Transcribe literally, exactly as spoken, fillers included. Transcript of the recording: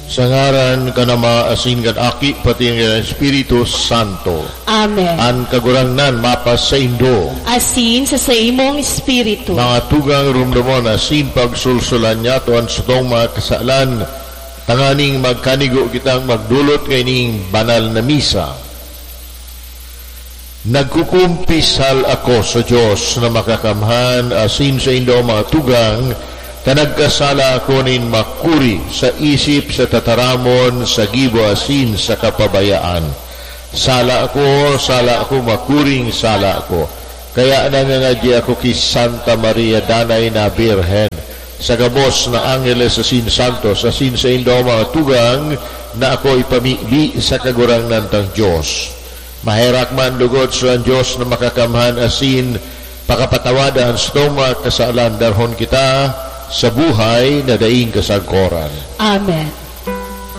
Sa ngaran kan Ama, asin kan Aki, pati kan Espiritu Santo. Amen. An Kagurangnan mapasaindo. Asin sa saimong espiritu. Mga tugang, rumdomon asin pagsulsulan niyato an satong mga kasalan, tanganing magkanigo kitang magdolot kaining banal na misa. Nagkukumpisal ako sa Dios na Makakamhan asin saindo, mga tugang, ta nagkasala ako nin makuri sa isip, sa tataramon, sa gibo asin sa kapabayaan. Sala ako, sala ako, makuring sala ako. Kaya nangangadyi ako ki Santa Maria, Danay na Birhen, sa gabos na angeles asin santos, asin saindo, mga tugang, na ako ipamibi sa Kagurangnan tang Dios. Maherak man lugod sa Dios na Makakamhan asin pakapatawada an satong mga kasalan, darhon kita sa buhay na daing kasagkoran. Amen.